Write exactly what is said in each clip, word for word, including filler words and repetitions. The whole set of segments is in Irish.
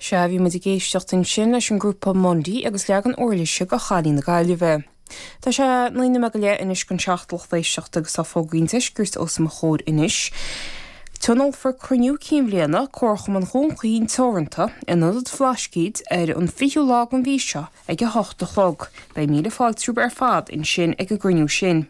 Sea, bhí muid ag éisteacht ansin leis an grúpa Mundy agus leagan uirlise de Chailín na Gaillimhe. Tá sé naoi nóiméad go leith anois don seacht lucht éisteachta agus tá fógraí an deiscirt os mo chomhair anois. Tionólfar cruinniú cinn bhliana Comharchumann Dhún Chaoin Teoranta in Ionad Bhlascaoid ar an fichiú lá den mhí seo ag a hocht a chlog. Beidh míle fáilte romhaibh ar fad ansin ag an gcruinniú sin.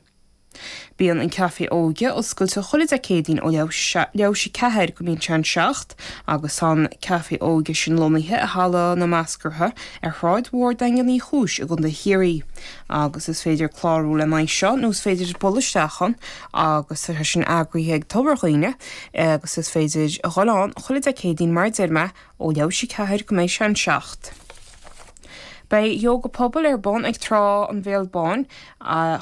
Bíonn an Café Óige oscailte chuile Dé Céadaoin ó leathuair théis a ceathair go mbíonn sé an seacht agus tá an Café Óige sin lonnaithe i Halla na Meascartha ar Shráid Mhór Daingean Uí Chúis i gContae Chiarraí. Agus is féidir clárú lena aghaidh seo nó is féidir bualadh isteach ann agus tá sin eagraithe ag Tobar Dhuibhne agus is féidir a dhul ann chuile Dé Céadaoin mar a deir mé ó leathuair théis a ceathair go mbeidh sé an seacht. Beidh yoga pobail ar bun ag Trá an Bhéal Báin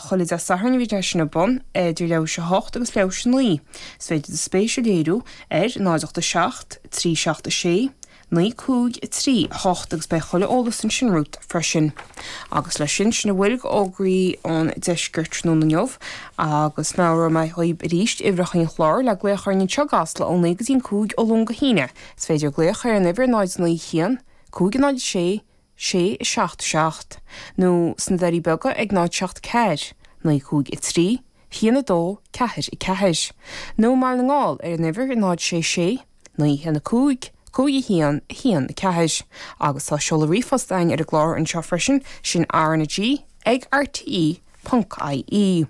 chuile Dé Sathairn bhí sin ar bun idir leathuair théis a hocht agus leathuair théis a naoi. Is féidir do spéis a léiriú ar náid ocht a seacht, trí seacht a sé, naoi cúig trí hocht agus beidh chuile eolas ansin romhat freisin. Agus leis sin sin a bhfuil d'fhógraí ón deisceart tráthnóna inniu agus meabhróidh mé dhaoibh arís uimhreacha an chláir le glaoch orainn anseo i gCasla ó naoi go dtí an cúig ó Luan go hAoine. Is féidir glaoch ar an uimhir náid naoi haon, cúig náid sé, sé seacht seacht, nó sna Doirí Beaga ag náid seacht ceathair, naoi cúig a trí, haon a dó, ceathair a ceathair. Nó i mBaile na nGall ar an uimhir náid sé sé, naoi haon a cúig, cúig a haon, a haon a ceathair. Agus tá seoladh ríomhphost againn ar an gclár anseo freisin sin RnaG ag RTE ponc IE.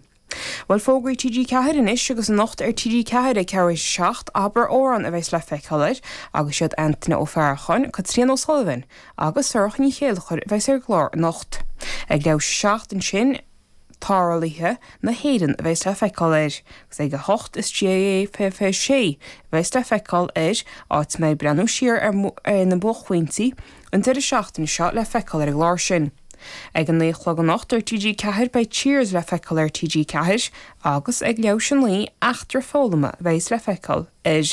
Bhuel fógraí TG Ceathair anois agus anocht ar TG Ceathair ag ceathrú seacht Abair Amhrán a bheas le feiceáil air agus siad Antaine Ó Fearacháin, Caitríona O'Sullivan agus Sorcha Ní Chéilleachair a bheas ar an gclár anocht. Ag leathuair théis seacht ansin Tarlaithe na hÉireann a bheas le feiceáil air, agus ag a hocht is GAA fiche fiche sé a bheas le feiceáil air áit a mbeidh breathnú siar ar ar na buaicphointí an deireadh seachtaine seo le feiceáil ar an gclár sin. Ag an naoi a chlog anocht ar TG Ceathair beidh Cheers le feiceáil ar TG Ceathair agus ag leathuair théis a naoi eachtra foghlama a bheas le feiceáil air.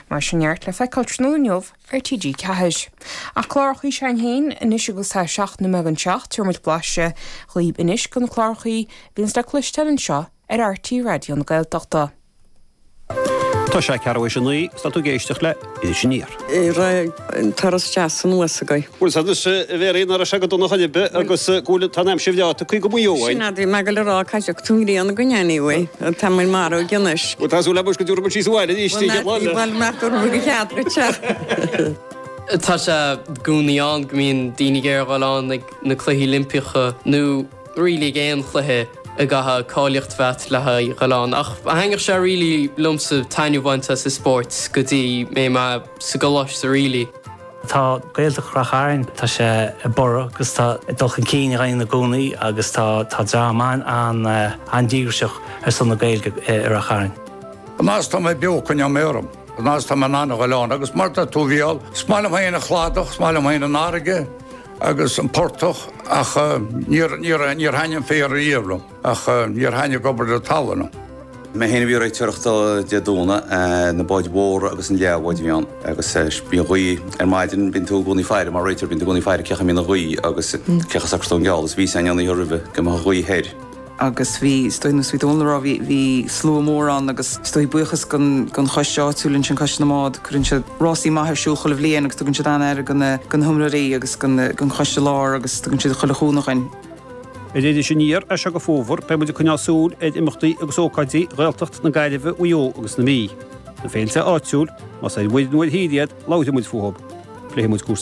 Mar sin neart le feiceáil tráthnóna inniu ar TG Ceathair. Ach clárachaí s'againn féin anois agus tá seacht nóiméad don seacht tabharfaidh muid blaiseadh dhaoibh anois de na clárachaí a bhíonns le cloisteáil anseo ar RTÉ Raidió na Gaeltachta. Tá sé ceathrú théis a naoi tá tú ag éisteacht le Iris Aniar. An turas deas anuas agaibh. Bhuel agus a Mhéirí ná raibh sé go dona chuile agus go bhfuil tá an aimsir bhreá tagtha go Maigh Eo. Sin é bhí mé ag rá caithfidh tú grian go anyway tá muid marbh anois. Bhuel tá súil agam go dtabharfaidh muid síos abhaile arís Bhuel nach dtabharfaidh go cead go te. Tá sé i gcónaí ann go mbíonn daoine ag iarraidh dul ann ag na cluichí Oilimpeacha nó really ag aon chluiche a gcaithfidh cáilíocht bheith le haghaidh dul ann. Ach thaitnigh sé really liomsa taitneamh a bhaint as an spórt go dtí mé mé sa gcoláiste really. Tá Gaeltacht Ráth Chairn tá sé ag borradh agus tá dul chun cinn i gcónaí agus tá tá dream an an an-díograiseach ar son na Gaeilge i Ráth Chairn. An tá mé beo coinneoidh mé orm, an tá mé an goán agus mar tá tú bhíal, Smáil féin a chládach, smáil féin an airge agus an portach ach níor níor thaitin an féar riamh liom ach níor thaitin obair na talún. Mé féin a bhí réiteoireacht Dé Domhnaigh na báid mhóra agus an leathbhád bhí ann agus bíonn gaoth ar maidin bíonn tú i gcónaí ag faire mar réiteoir bíonn tú i gcónaí ag faire cé chaoi a mbíonn an ghaoth agus cé chomh socrúchán geall is bhí an oíche roimhe go mbeadh an ghaoth thoir. agus bhí is dóigh nó dóna rá bhí slua mór ann agus is dóigh buíochas don choiste áitiúil ansin Coiste na mBád cuireann siad rásaí maith ar siúl chuile bhliain agus tugann siad an-aire do na hiomaitheoirí agus don choiste láir agus tugann siad chuile chúnamh dúinn. Ar Iris Aniar as seo go fómhar beidh muid ag coinneáil súil ar imeachtaí agus ócáidí Ghaeltacht na Gaillimhe Mhaigh Eo agus na Mí. Na féilte áitiúil, más ar mhuir nó ar thír iad, labhróidh muid fúthu. Pléifidh muid cúrsaí